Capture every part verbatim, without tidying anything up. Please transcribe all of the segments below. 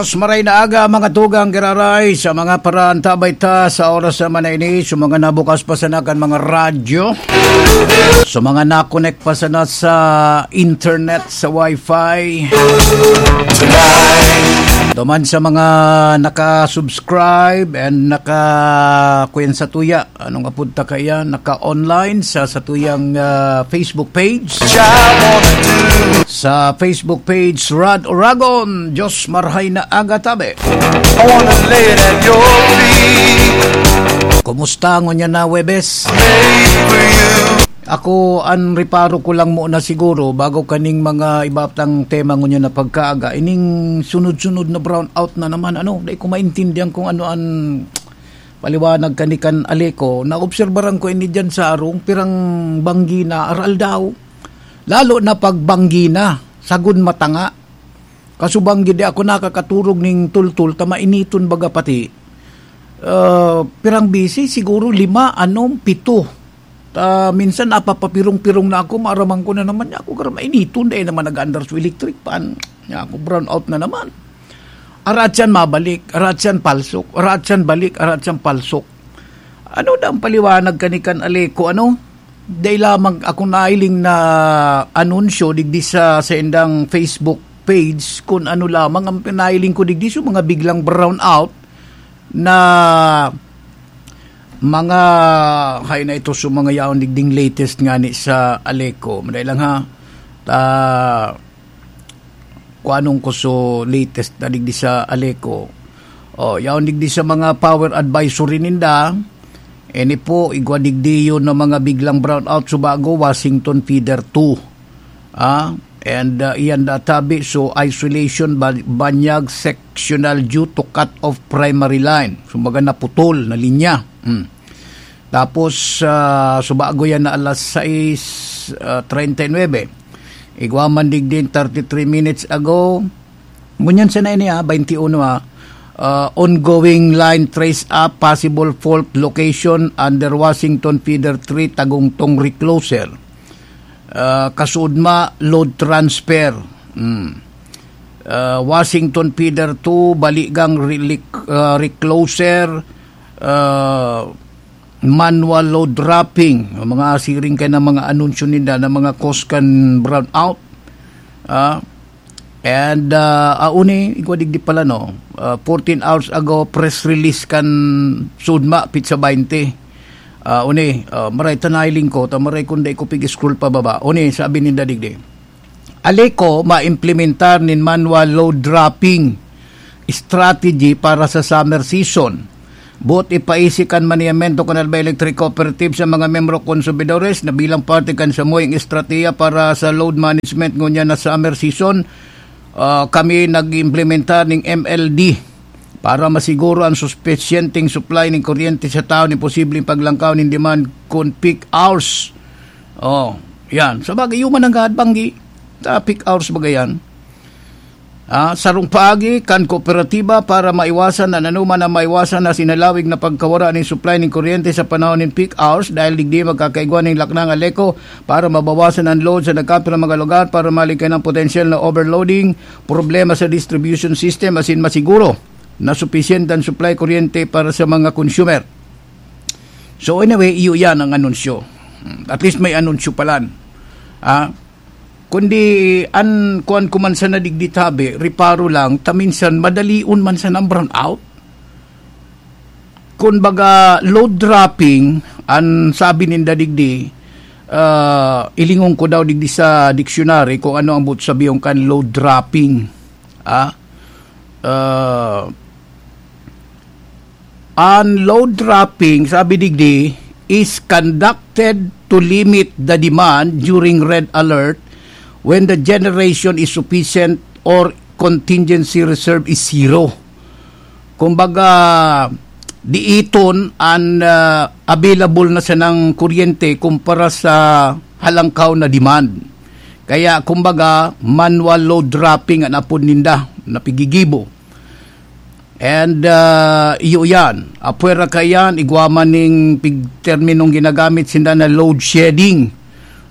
Maray na aga, mga tugang giraray, sa mga paraantabay ta sa oras naman na ini, sa mga nabukas pa sana kan mga radyo, sa mga nakonek pa sana sa internet, sa wifi, duman sa mga naka-subscribe and naka kuyan sa tuya, anong apod ta kaya, naka-online sa satuyang ah, Facebook page. Sa Facebook page, Rad Oragon, Diyos marhay na aga tabi. I wanna lay it at your feet. Kumusta ngunyan na Webes? Ako, an reparo ko lang muna siguro, bago kaning mga iba tang tema ngunyan na pagkaaga, ining sunod-sunod na brownout na naman, ano, dai ko maintindihan kung ano an paliwanag kani kan Aleco. Naobserbaran ko ini diyan sa arong pirang banggi na aral daw. Lalo na pag banggi na, sagod matanga. Kasubang gidi ako nakakaturog ning tultul ta mainiton baga pati. Ah, pirang bisi, siguro lima, anom, pito. Ta minsan napapapirong-pirong na ako, maaraman ko na naman niya ako, "Gara mainiton, dai naman nag-aandar so electric fan." Niya ako, brown out na naman. Arat siyan mabalik, arat siyan palsok, arat siyan balik, arat siyan palsok. Ano na ang paliwanag kani kan Aleco, ano? Dai lamang ako nailing na anunsyo digdi sa, sa indang Facebook page, kun ano lamang ang pinailing ko digdi, so mga biglang brown out na mga, hay na ito, so mga yaon digding latest nga ni sa Aleco. Maday lang ha. Ta, kuanong ko so latest na digdi sa Aleco. Oh, yaon digdi sa mga power advisory ninda. Ini po, igwa digdi yun ng mga biglang brownout, Subago, Washington Feeder two. Ah, and uh, iyan da tabi, so isolation, ba- banyag, sectional due to cut off primary line. So, mga naputol na linya. Hmm. Tapos, ah, Subago yan na alas sais, ah, treinta y nueve. Igwa man digdin thirty-three minutes ago. Ngunyan sana ini, ah, twenty-one, ah. Ah, ongoing line trace up, possible fault location under Washington Feeder three, Tagungtong Recloser. Ah, Kasudma, load transfer. Hmm. Ah, Washington Feeder two, Baligang, Relic-, ah, Recloser, ah, manual load dropping, ang mga siring kay na mga anunsyo nila na mga cause kan brown out. Ah, and, ah, ah, uni, igwa digdi pala, no? Ah, fourteen hours ago, press release kan Sudma, Pizza twenty. Ah, uni, ah, maray ta nailing ko, ta maray kung dai ko pig-scroll pababa. Uni, sabi ninda digdi, Aleco maimplementar nin manual load dropping strategy para sa summer season. Boot ipaisi kan maniyamento kan Albay Electric Cooperative sa mga miyembro konsumidores na bilang parte kan samuyang estratehiya para sa load management ngunyan na summer season, ah, kami nag-implementar ning M L D para masiguro ang supisyenteng supply ning kuryente sa taon nin posibleng paglangkaw nin demand kun peak hours. Oh, yan. Sa bagay, human ang gahad banggi. Sa peak hours bagay yan. Ah, sarong paagi kan kooperatiba para maiwasan an anoman na maiwasan na sinalawig na pagkawara nin supply nin kuryente sa panahon nin peak hours dahil digdi magkakaigwa nin laknang Aleco para mabawasan an load sa nagkapirang mga lugar para malikay ng potensyal na overloading, problema sa distribution system asin masiguro na supisyente ang supply kuryente para sa mga consumer. So anyway, iyo yan ang anunsyo. Hmm, at least may anunsyo palan. Ah, kundi an kuan ko man sana digdi tabi, reparo lang, ta minsan madalion man sana ang brown out. Kun baga, load dropping, an sabi ninda digdi, ah, ilingon ko daw digdi sa dictionary kung ano ang buot sabihon kan load dropping. Ah, ah, an load dropping, sabi digdi, is conducted to limit the demand during red alert when the generation is sufficient or contingency reserve is zero. Kumbaga, diiton an, ah, available na sanang kuryente kumpara sa halangkaw na demand. Kaya, kumbaga, manual load dropping an apod ninda na pigigibo. And, ah, iyo yan. Apwera kaiyan, igwa man ning pig-, terminong ginagamit sinda na load shedding.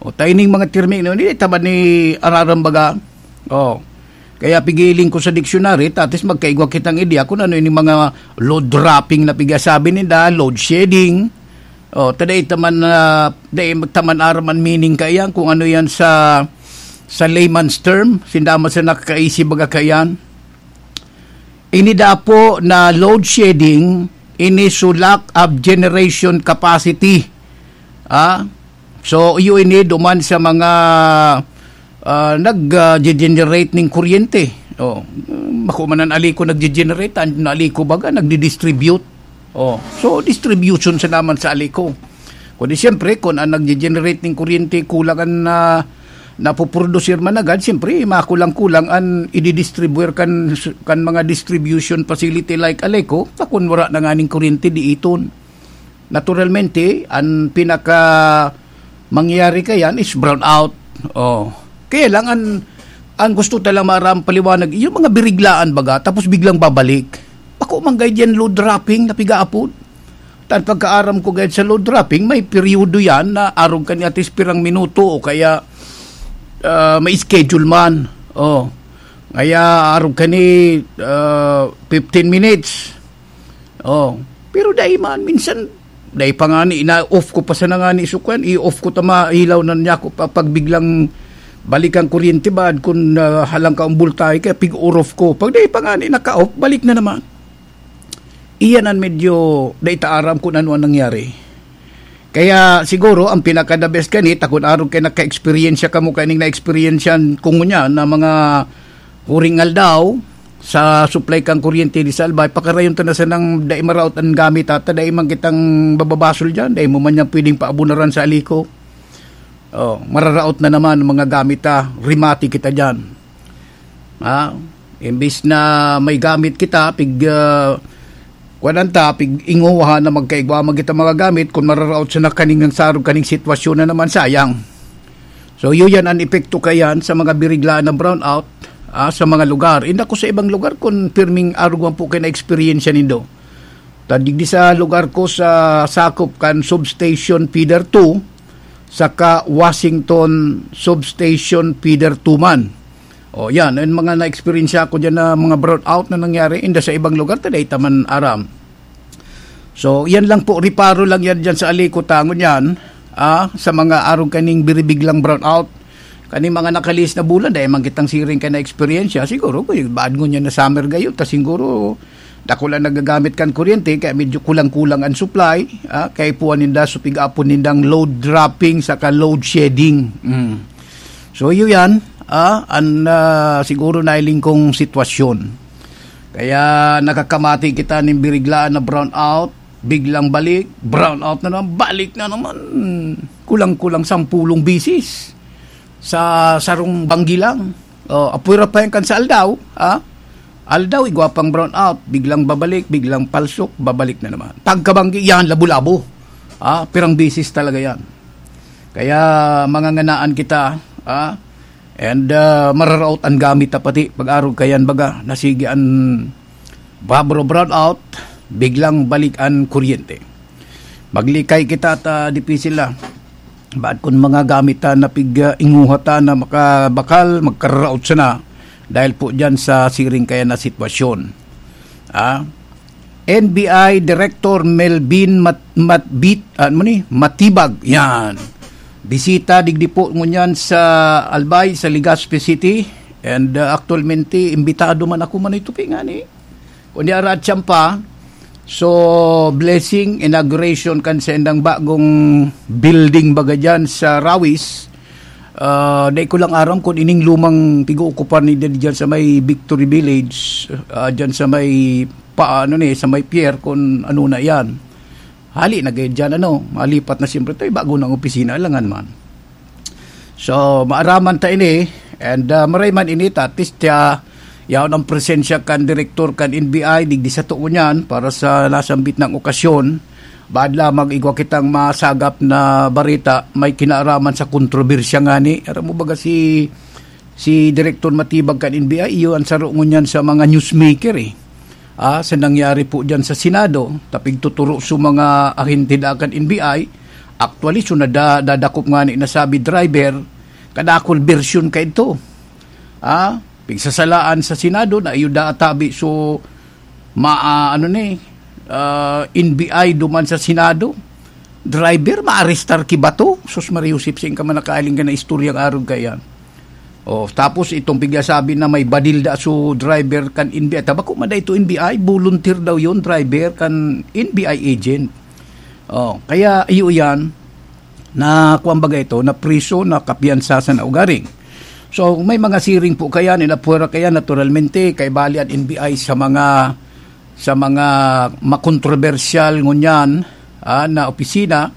O, ta ining mga termino, hindi ta ba ni ararambaga? O, Kaya pigiling ko sa dictionary, tatis magkaigwa kitang idea kung ano yung mga load dropping na pigasabi ninda, load shedding. O, ta dai ta man, ah, dai ta man aram an meaning kaiyan, kung ano yan sa, sa layman's term, sinda man sa nakakaisip baga kaiyan. Ini dapo na load shedding, ini so lack of generation capacity. Ah? So, iyo ini duman sa mga, ah, nag, ah, generate ning kuryente. Oh, bako man an Aleco nagge-generate, an Aleco baga nagdi-distribute. Oh, so distribution sa naman sa Aleco. Kundi siyempre, kung ang nagge-generate ning kuryente kulang an, ah, napuprodusir man agad, siyempre, makulang-kulang an ididistribuer kan, kan mga distribution facility like Aleco, ta kun wala na nganing kuryente, di iton. Naturalmente, an pinaka mangyayari kayan is brownout. Oh. Kaya lang, an, an gusto ta lang maaram paliwanag, yung mga biriglaan baga, tapos biglang babalik. Bako man gay diyan load dropping na pigaapod. Tan pagkaaram ko gayud sa load dropping, may peryodo yan na arog kan atis pirang minuto o kaya, ah, may schedule man. Oh. Kaya arog kani, ah, fifteen minutes. Oh. Pero dai man, minsan, dai pa ngani, ina-off ko pa sana ngani sukwan, i-off ko ta mailaw na niya ako pa, pag biglang balik ang kuryente ba, kun, ah, halang ka ang bultahe, kaya pig-off ko. Pag dai pa ngani naka-off, balik na naman. Iyan an medyo dai ta aram kun ano an nangyari. Kaya siguro ang pinaka the best kani, ta kun arog kay naka-eksperyensya kamo kaning na-eksperyensyan ko ngunyan na mga huring aldaw sa supply kan kuryente di sa Albay, pakarayon ta na sanang dai maraot an gamit, ha, ta dai man kitang bababasol diyan, dai mo man yan pwedeng paabunaran sa Aleco. Oh, mararaot na naman ang mga gamit, ha, rimati kita diyan. Ha? Imbis na may gamit kita, pig, ah, kuwan ta, pig-inguha na magkaigwa man kita mga gamit, kung mararaot sa nakaning ang sarog kaning sitwasyon na naman, sayang. So, yun yan ang epekto kayan sa mga biriglaan na brownout, ah, sa mga lugar. Inda ko sa ibang lugar, kung pirming arog man po kayo na eksperyensya nindo. Ta digdi sa lugar ko sa sakop kan Substation Feeder two, saka Washington Substation Feeder two man. O, yan, yung mga na-eksperyensya ko dyan na mga brownout na nangyari, inda sa ibang lugar, ta dai ta man aram. So, yan lang po, reparo lang yan dyan sa Aleco, tangon yan, ah, sa mga arog kaning biribiglang brownout. Kaning mga nakalihis na bulan, dai man kitang siring ka na eksperyensya. Siguro, kung baad ngunyan na summer gayo, ta siguro, dakul ang nagagamit kan kuryente, kaya medyo kulang-kulang ang supply, ah, kaya puwan ninda, supig-apon nindang load dropping saka load shedding. Mm. So, iyo yan, ah, an, ah, siguro nailing kong sitwasyon. Kaya nakakamati kita nin biriglaan na brownout, biglang balik, brownout na naman, balik na naman. Kulang-kulang sampulong bisis sa sarong banggi lang. O, apwera pa yan kan sa aldaw, ha? Aldaw, igwa pang brownout, biglang babalik, biglang palsok, babalik na naman. Pagkabanggi, yan, labo-labo. Ha? Pirang bisis talaga yan. Kaya manganganaan kita, ha? And, ah, mararaot ang gamit na pati. Pag-arog kayan baga, nasigi an babro brownout, biglang balik an kuryente. Maglikay kita ta dipisil la. Baad kun mga gamit ta na pig, ah, inguha ta na makabakal, magkararaot sana dahil po dyan sa siring kaya na sitwasyon. Ah, N B I Director Melvin Mat-, Matbit, ano ni? Matibag. Yan. Bisita digdi po ngunyan sa Albay, sa Legazpi City. And, uh, actualmente, imbitado man ako man ito, ngani. Kundi arat siyang pa. So, blessing, inauguration kan sa indang bagong building baga dyan sa Rawis. Ah, dai ko lang aram kung ining lumang pig-uukupan ni dyan sa may Victory Village, ah, dyan sa may pa, ano ni, sa may pier, kung ano na yan. Hali na gayud dyan, ano, malipat na siyempre ito, bago ng opisina, alangan man. So, maaraman ta ini, and, ah, maray man ini, tatis tiya, yaon ang presensya kan direktor kan N B I, digdi sa tuon yan, para sa nasambit ng okasyon, baad lamang igwa kitang masagap na barita, may kinaaraman sa kontrobersya ngani. Aram mo baga si si Direktor Matibag kan N B I, iyo ang saro ngunyan sa mga newsmaker, eh. Ah, sa nangyari po dyan sa Senado, tapig tuturo sa mga ahente da kan N B I, actually, so nada-, dadakop nga ni nasabi driver, kadakol version ka ito. Ah, pigsasalaan sa Senado na iyo da atabi. So, ma-, ah, ano ni, ah, N B I duman sa Senado, driver, maarestar ki bato. Sus, Maria Josep, saan ka man nakaaling ka na istorya ang arog kaiyan? Oh, tapos itong pigsasabi na may badil da so driver kan N B I. Tabako man da ito N B I, volunteer daw yon, driver kan N B I agent. Oh, kaya iyo yan, na kuwan baga ito, na priso, na kapiyansa sa naugaring. So, may mga siring po kaya, nila pwera kaya, naturalmente, kay bali an N B I sa mga, sa mga makontrobersyal ngunyan, ah, na opisina,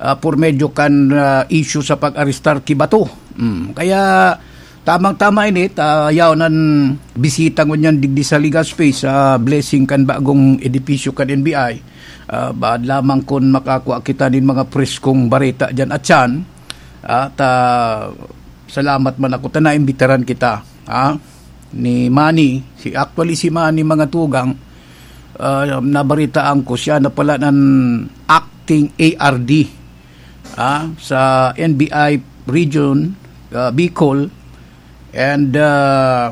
ah, por medyo kan, ah, issue sa pag-arestar ki bato. Mm. Kaya, tamang-tama ini, ta, yaon an bisita ngunyan digdi sa Legazpi, sa blessing kan bagong edipisyo kan N B I. Ah, baad lamang kun makakua kita nin mga preskong bareta diyan at siyan. Ah, ta, salamat man ako ta naimbitaran kita, ah, ni Manny. Si, actually, si Manny, mga tugang, ah, nabaritaan ko siya na pala ng acting A R D, ah, sa N B I region, ah, Bicol. And, ah,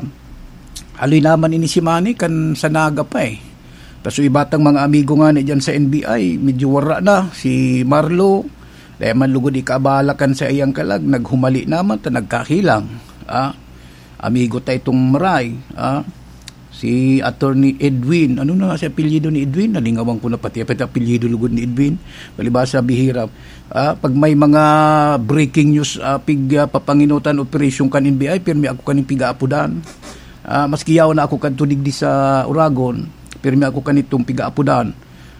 haloy naman ini si Manny kan sa Naga pa, eh. Tas so iba tang mga amigo ngani diyan sa N B I, medyo wara na. Si Marlo, dai man lugod ikaabala kan saiyang kalag, naghumali naman ta nagkahilang. Ah, amigo ta itong Maray, ah, si Attorney Edwin. Ano na nga si apelyido ni Edwin? Nalingawan ko na pati, pati apelyido lugod ni Edwin. Palibasa, bihira. Ah, pag may mga breaking news, ah, pig, ah, papanginutan operasyon kan N B I, pirmi ako kaning pigaapodan. Ah, maski yaon na ako kadto digdi sa Oragon, pirmi ako kanitong pigaapodan.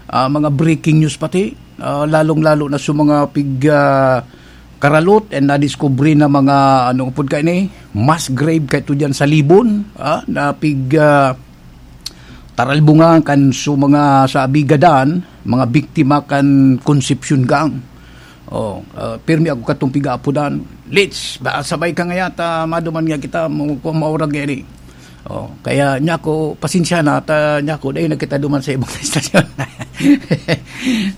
Ah, mga breaking news pati, ah, lalong-lalo na sa mga pig, ah, karalot and nadiskubre na mga, ano pud kaini, mass grave kaito diyan sa Libon, ah, na pig, ah, taralbungan kan su mga sa Abigadan, mga biktima kan Concepcion Gang. Oh, ah, pirmi ako katong pigaapodan. Lits, ba, sabay ka ngaya ta maduman nga kita, mo, kung maurag ngani. Oh, kaya niya ako, pasensya na, ta niya ako, dahil nagkita duman sa ibang istasyon.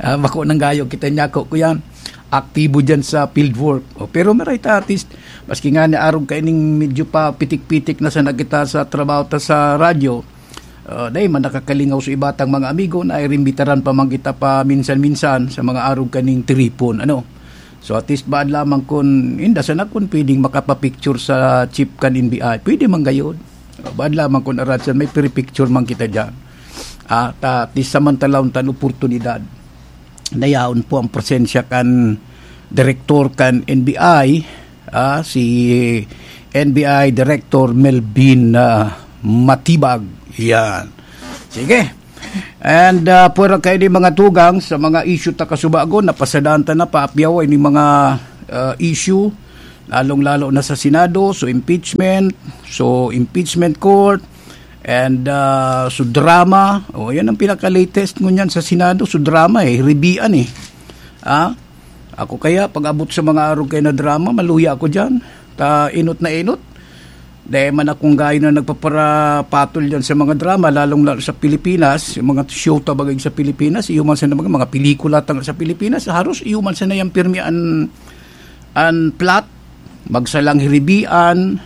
Ah, bako nang gayo, kita niya ako, kuyan, aktibo dyan sa field work. Oh, pero maray ta, at least, maski nga ni arog kaining medyo pa pitik-pitik na sana kita sa trabaho ta sa radyo, ah, dahil man nakakalingaw sa iba tang mga amigo na irimbitaran pa man kita pa minsan-minsan sa mga arog kaning tiripon, ano. So, at least, baad lamang kun, inda sana kun pwedeng makapapicture sa chief kan N B I, pwede man gayod. Ah, baad lamang kun arat siya, may picture man kita dyan. Ah, ta, at least, samantalaon tan oportunidad. Nayaon po ang presensya kan direktor kan N B I, ah, si N B I Director Melvin, ah, Matibag. Yan. Sige. And, ah, pwera kayo ni mga tugang sa mga issue ta kasubagon, napasadaan ta na, paapyaw, ini mga, ah, issue, lalong-lalo na sa Senado, so impeachment, so impeachment court, and, ah, so drama. O, yan ang pinaka-latest ngunyan sa Senado, so drama eh, ribian eh. Ah, ako kaya, pag abot sa mga arog kayo na drama, maluya ako dyan. Ta, inot na inot. Dai man akong gayo na nagpaparapatol dyan sa mga drama, lalong-lalo sa Pilipinas, yung mga show ta bagay sa Pilipinas, iyo man sana mga, mga pelikula ta sa Pilipinas, haros iyo man sana yan pirmi an, an plot, magsalang hiribian,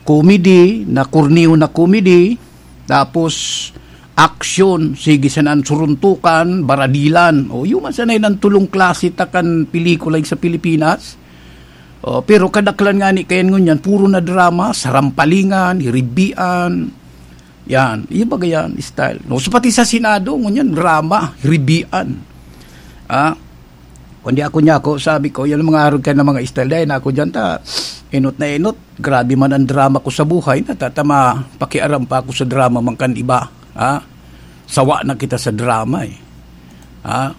comedy, na kurniyo na comedy, tapos action, sige sana an suruntukan, baradilan. O, iyo man sana yan ang tulong klase ta kan pelikula sa Pilipinas. Oh, pero kadaklan ngani kayan ngunyan, puro na drama, sarampalingan, hiribian. Yan, iyo baga yan, style. No, so pati sa Senado, ngunyan, drama, hiribian. Ah, kundi ako niya ako, sabi ko, yan ang mga arog ka na mga style. Dahil na ako dyan, ta, inot na inot. Grabe man ang drama ko sa buhay, natatama, pakiaram pa ako sa drama man kan iba. Ah, sawa na kita sa drama eh. Ah,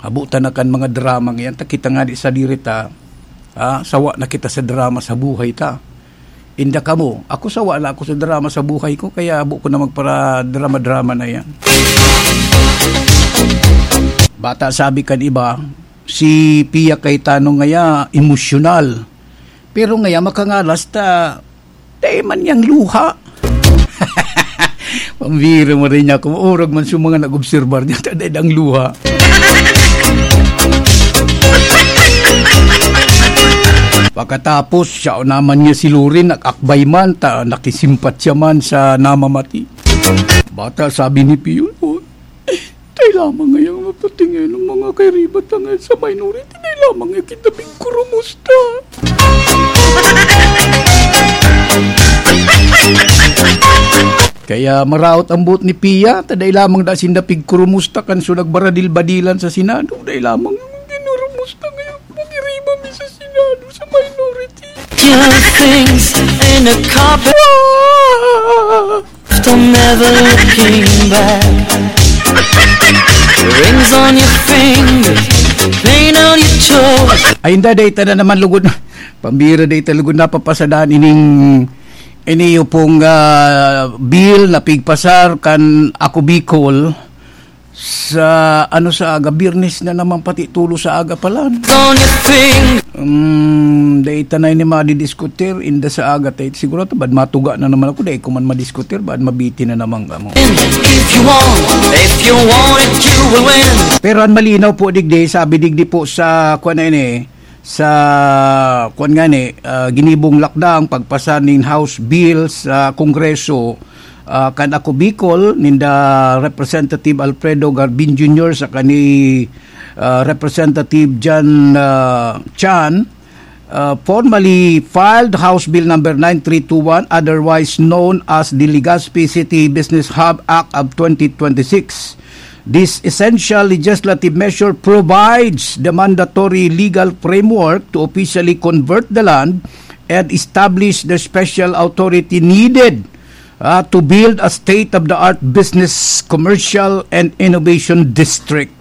abutan na kan mga drama ngayon. Ta kita nga di sa diri ta, ah, sawa na kita sa drama sa buhay ta. Inda kamo, ako sawa na ako sa drama sa buhay ko, kaya abo ko na magpara-drama-drama na yan. Bata sabi kan iba, si Pia Cayetano ngaya, emosyonal. Pero ngaya, makangalas ta, dai man niyang luha. Pambira mo rin niya, kung maurag man sa mga nag-obserbar niya, ta dai dang luha. Pagkatapos, siya naman niya si Loren, nag-akbay man, ta, nakisimpatya man sa namamati. Bata, sabi ni Pio, "Oh, tayo lamang ngayang mapatingin ng mga kairiba ta ngayon sa minority, tayo lamang yung kita pigkurumusta." Kaya maraot ang buot ni Pia, ta dai lamang da sinda pigkurumusta kan so nagbaradil-badilan sa Senado, dai lamang yung kinurumusta ngayon, pag-iriba mi sa Senado, sa minority. Two things in a carpet. From never looking back. Rings on your fingers, pain on your toes. Ay, hindi, data na naman lugod. Pambira, data lugod na papasadaan ining, ini yung pong, ah, bill na pigpasar kan Ako Bicol sa, ano, sa aga, Biyernes na naman pati tulo sa aga pala. On your finger. Um, data na ini madidiskutir, inda sa aga, tay, siguro to, bad matuga na naman ako, dai ko man madiskutir, bad mabiti na naman kamo. If you want, if you want it, you will win. Pero ang malinaw po, digdi, sabi digdi po sa, kuwan na ini, sa, kuwan nga ni, ah, ginibong lakdang pagpasa nin House Bill sa Kongreso, ah, kan Ako Bicol, ninda Representative Alfredo Garbin Junior saka ni, ah, Representative Jan, ah, Chan, ah, formally filed House Bill number nine three two one, otherwise known as the Legazpi City Business Hub Act of twenty twenty-six. This essential legislative measure provides the mandatory legal framework to officially convert the land and establish the special authority needed, ah, to build a state-of-the-art business, commercial, and innovation district.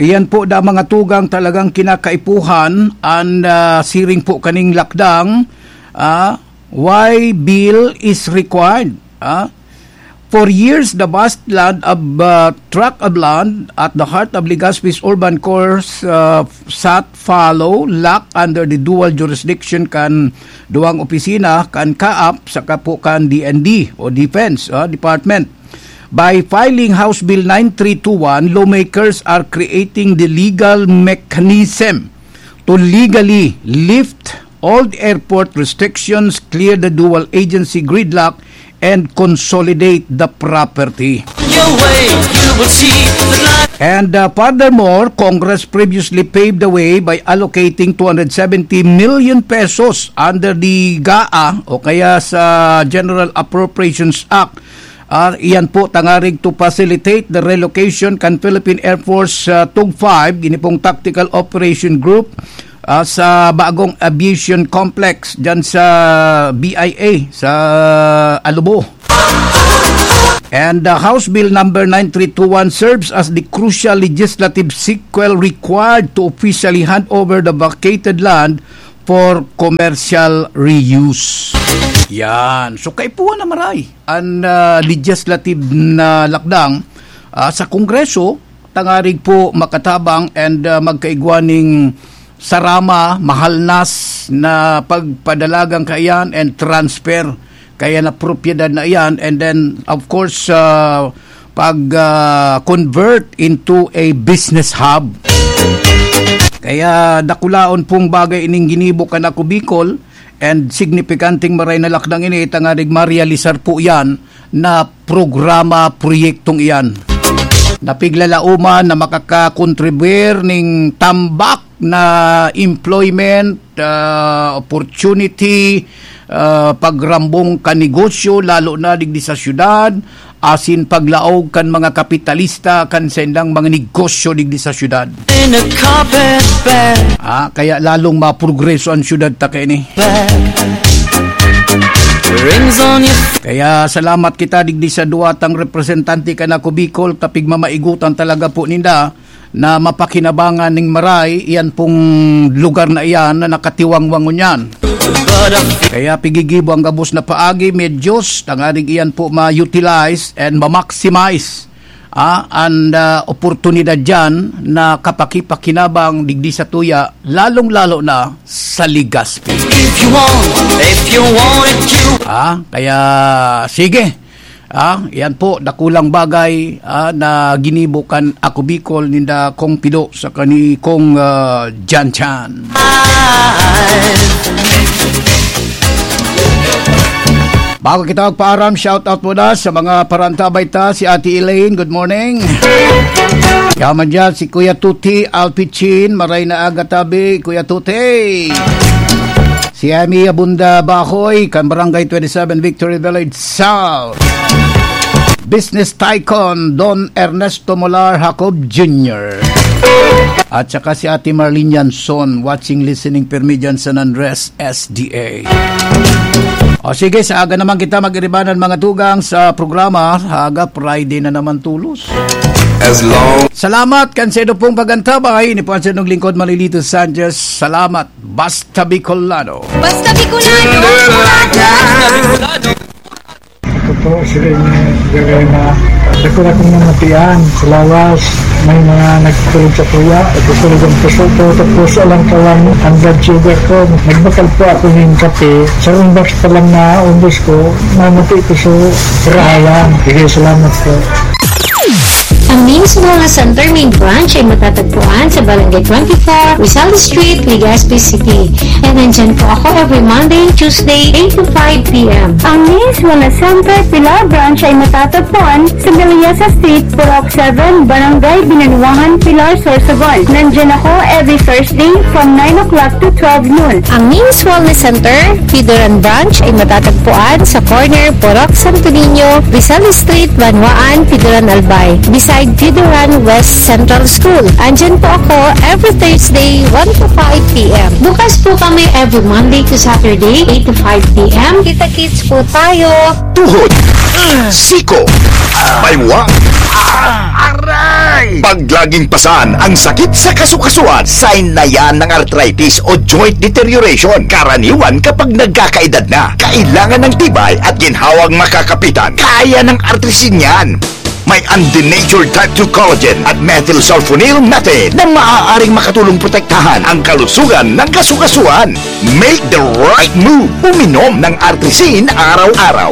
Iyan po da mga tugang talagang kinakaipuhan, and, ah, siring po kaning lakdang, ah, why bill is required. Ah? For years, the vast land of, uh, tract of land at the heart of Legazpi's urban core, uh, sat fallow, locked under the dual jurisdiction kan duwang opisina kan CAAP saka po kan D N D o Defense, uh, Department. By filing House Bill nine three two one, lawmakers are creating the legal mechanism to legally lift all the airport restrictions, clear the dual agency gridlock, and consolidate the property. Your way, you will see the light. And, uh, furthermore, Congress previously paved the way by allocating two hundred seventy million pesos under the GAA o kaya sa General Appropriations Act. Ah, iyan po tangarig to facilitate the relocation kan Philippine Air Force, ah, Tug five, ini pong Tactical Operation Group, ah, sa bagong aviation complex dyan sa B I A, sa Alubo. And, ah, House Bill number nine three two one serves as the crucial legislative sequel required to officially hand over the vacated land for commercial reuse. Yan. So, kaipuhan na maray an, ah, legislative na lakdang, ah, sa Kongreso, tangarig po makatabang and, ah, magkaigwa ning sarama, mahalnas na pagpadalagang kaiyan and transfer kaya na propiedad na iyan, and then, of course, ah, pag, ah, convert into a business hub. Kaya dakulaon pong bagay ining ginibo kan Ako Bicol, and signipikanting maray na lakdang ini, tangarig marealisar po iyan na programa, proyektong iyan. Napiglalaoman na makakakontribir ning tambak na employment, ah, opportunity, ah, pagrambong kan negosyo, lalo na digdi sa syudad, asin paglaog kan mga kapitalista kan saindang mga negosyo digdi sa syudad. In a carpet bag. Ah, kaya lalong maprogreso ang syudad ta kaini. Bag. Rings on your Kaya salamat kita digdi sa duwa tang representante kan Ako Bicol, ta pigmamaigutan talaga po ninda na mapakinabangan ning maray iyan pong lugar na iyan na nakatiwangwang ngunyan. Kaya pigigibo ang gabos na paagi, medyos, tanganing iyan po ma-utilize and ma-maximize, ah, an, ah, oportunidad diyan na kapakipakinabang digdi sa tuya, lalong-lalo na sa Legazpi. If you want, if you want it, you Ah, kaya sige. Ah, yan po, dakulang bagay, ah, na ginibo kan Ako Bicol ninda Kong Pido sa kani Kong, ah, Jan Chan. Bago kita magpaaram, shout out muna sa mga parantabay ta, si Ate Elaine, good morning. Yaman dyan, si Kuya Tuti Alpichin, maray na aga tabi, Kuya Tuti. Si Emi Abunda Bahoy, kan Barangay twenty-seven Victory Village South. Business Tycoon Don Ernesto Molar Jacob Junior. At saka si Ate Marlene Yanson, watching, listening, permi dyan sa San Andres S D A. O sige, sa aga naman kita mag-iribanan mga tugang sa programa. Aga, Friday na naman tulos. As long Salamat kan sa ido pong pagantabay. Ini po ang sinong lingkod, Malilito Sanchez. Salamat. Basta Bicolano. Basta Bicolano. Ako po, si Rene Garena. Ako na kong namatian sa lawas. May mga nagtulog sa kuya. Nagtutulog ang puso ko. Tapos alang kawan ang blood sugar ko. Nagbakal po ako ng kape. Sa box pa lang na umbos ko, namati ko sa karahayan. Sige, salamat po. Ang Names Wellness Center main branch ay matatagpuan sa Barangay twenty-four, Rizal Street, Legazpi City. And nandyan po ako every Monday and Tuesday, eight to five p m. Ang Names Wellness Center Pilar Branch ay matatagpuan sa Meliasa Street, Purok seven, Barangay Binanuahan, Pilar, Sorsogon. Nandyan ako every Thursday from nine o'clock to twelve noon. Ang Names Wellness Center, Pidoran Branch ay matatagpuan sa corner Purok Santo Niño, Rizal Street, Banwaan, Pidoran Albay, beside Pidoran West Central School. Andyan po ako every Thursday, one to five p m. Bukas po kami every Monday to Saturday, eight to five p m. Kita-kits po tayo. Tuhod, siko, baywa, aray! Pag laging pasan ang sakit sa kasukasuan, sign na yan ng arthritis o joint deterioration. Karaniwan kapag nagkakaedad na, kailangan ng tibay at ginhawang makakapitan. Kaya ng Artrisin yan. May undenatured type two collagen at methylsulfonyl methane na maaaring makatulong protektahan ang kalusugan ng kasukasuan. Make the right move. Uminom ng Artrisin araw-araw.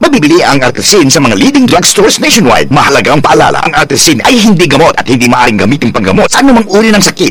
Mabibili ang Artrisin sa mga leading drugstores nationwide. Mahalagang paalala, ang Artrisin ay hindi gamot at hindi maaaring gamitin panggamot sa anumang uri ng sakit.